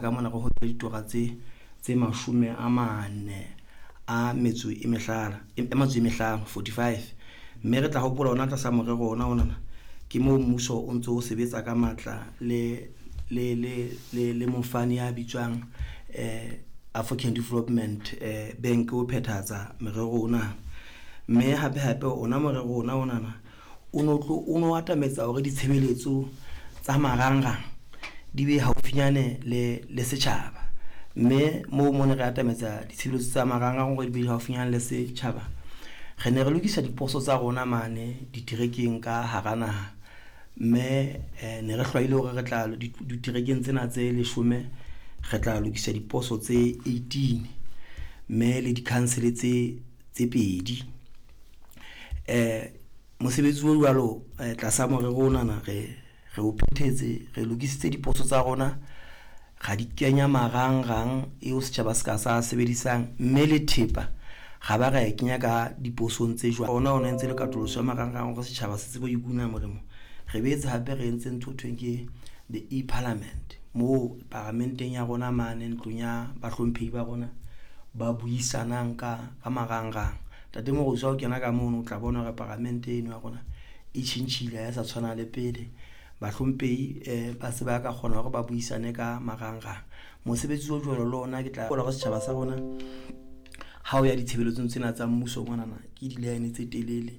Ka mona re hotse ditora tse 45 e mehlano, 45. Mme re tla hopola ona tlasa morero ona onana, ke moo mmuso o ntso o sebetsa ka matla le mofani ya bitswang African Development Bank ho phethahatsa merero ona. Mme hape hape ona morero ona onana o no tlo o no atametsa hore ditshebeletso tsa marangrang di be haufinyane le setjhaba. Mme moo mo ne re atametsa ditshebeletso tsa marangrang hore di be haufinyana le setjhaba. Re ne re lokisa diposo tsa rona mane diterekeng ka hara naha, mme ne re hlwaile hore re tla diterekeng tsena tse leshome, re tla lokisa diposo tse 18 mme le di-council tse pedi. Mosebetsi o jwalo tlasa morero onana re o phethetse, re lokisitse diposo tsa rona, ra di kenya marangrang eo setjhaba se ka sa sebedisang, mme le thepa ra ba ra e kenya ka diposong tse jwalo. Ona o entse le katoloso ya marangrang hore setjhaba se tsebe ho ikuna molemo. Re boetse hape re entse ntho eo thweng ke the e-parliament moo paramenteng ya rona mane ntlong ya bahlomphehi ba rona ba buisanang ka marangrang. Ntate Morusu ha o kena ka mono, o tla bona hore paramente eno ya rona e tjhentjhile ha e sa tshwana le pele. Bahlomphehi ba se ba ka kgona hore ba buisane ka marangrang. Mosebetsi o jwalo le ona ke tla hore setjhaba sa rona ha o ya ditshebeletsong tsena tsa mmuso monana ke di-line tse telele.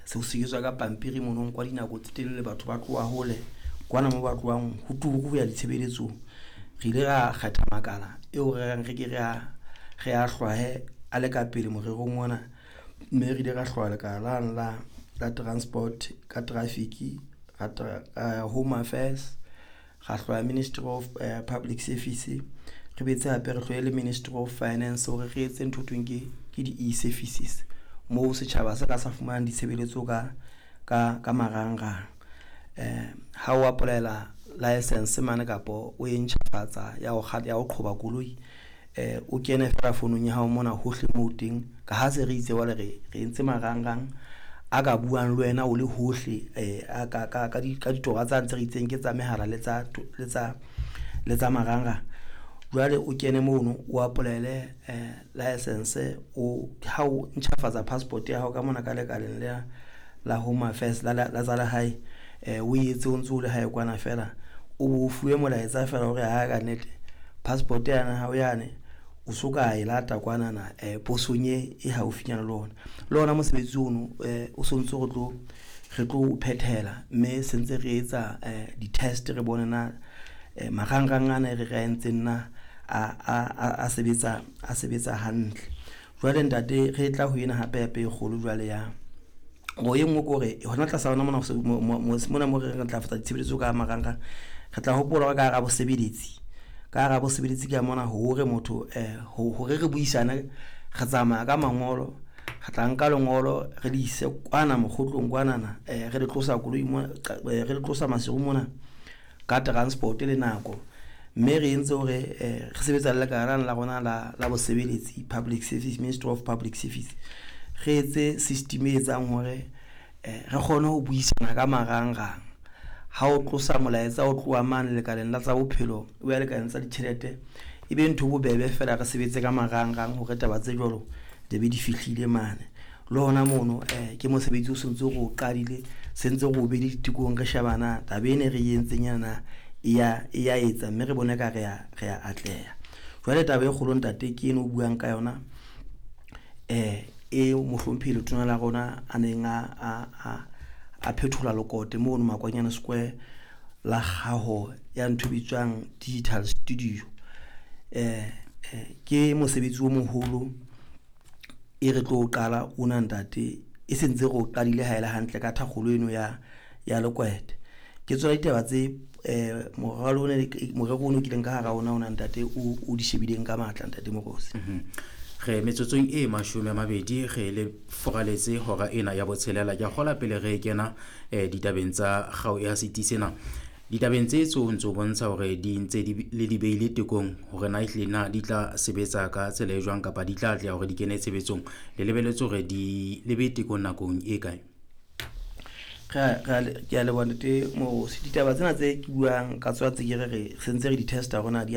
Se ho sebetswa ka pampiri mono ho nkwa dinako tse telele, batho ba tloha hole kwana moo ba tlohang ho turu ho ya ditshebeletsong. Re ile ra kgetha makala eo re reng re ke re a hlwaye a le ka pele morerong ona, mme re ile ra hlwaya lekala lane la transport ka traffic, Home Affairs, ra hlwaya Ministry of Public Service, re boetse hape re hlwaye le Ministry of Finance hore re etse ntho thweng ke di-e-services moo setjhaba se ka sa fumanang ditshebeletso ka marangrang. Ha o apply-ela license mane kapa o e ntjhafatsa ya ho ya ho qhoba koloi, o kene feela founung ya hao mona hohle moo teng. Ka ha se re itse jwale re entse marangrang a ka buang le wena o le hohle a ka ditora tsane tse re itseng ke tsa mehala le tsa marangrang. Jwale o kene mono o apply-ele license o ha o ntjhafatsa passport ya hao ka mona ka lekaleng la Home Affairs la tsa lehae, o etse o ntso o le hae kwana feela, o bo fuwe molaetsa feela hore ha ka nnete passport yana hao yane o so ka e lata kwanana posong e haufinyana le ona. Le ona mosebetsi ono o sontso re tlo o phethela, mme se ntse re etsa di-test re bone na marangrang ana e re re a entseng na a sebetsa hantle. Jwale ntate re tla ho ena hape hape e kgolo jwale ya o e nngwe ke hore hona tlasa hona mona mona mo re ntlafatsa ditshebeletso ka marangrang, re tla hopola hore ka hara bosebeletsi, ka hara bosebeletsi ka mona hore motho hore re buisane, re tsamaya ka mangolo, re tla nka lengolo re le ise kwana mokgotlong kwanana, re le tlosa koloi mona, re le tlosa Maseru mona ka transport le nako. Mme re entse hore re sebetsa le lekala la rona la bosebeletsi Public Service, Ministry of Public Service. Re etse system e etsang hore re kgone ho buisana ka marangrang. Ha o tlosa molaetsa o tloha mane lekaleng la tsa bophelo o ya lekaleng tsa ditjhelete, e be ntho bobebe feela re sebetse ka marangrang hore taba tse jwalo di be di fihlile mane. Le hona mono ke mosebetsi o sentse re o qadile, sentse re o behile ditekong, re sheba na taba ena re entseng yana e ya etsa, mme re bone ka re ya atleha. Jwale taba e kgolo ntate ke eno o buang ka yona, e mohlomphehi letona la rona a neng a phethola lekote mono Makwanyane Square la kgaho ya ntho e bitswang digital studio. Ke mosebetsi o moholo e re tlo qala ona ntate, e sentse re o qadile ha ele hantle ka thakgolo eno ya Lekwete. Ke tsona ditaba tse moralo ona morero ono kileng ka hara ona ona ntate o di shebileng ka matla ntate Mokosi. Re metsotsong e 20 re le foraletse hora ena ya botshelela. Ke a kgola pele re kena ditabeng tsa kgao ya seti sena. Ditabeng tse tso ntso bontsha hore di ntse di le di beile tekong hore na ehlile na di tla sebetsa ka tsela e jwang kapa di tla atleha hore di kene tshebetsong. Le lebelletse hore di le be tekong nakong e kae? Ke a leboha, ntate Moorosi. Ditaba tsena tse ke buang ka tsona tse ke re re sentse re di testa rona di a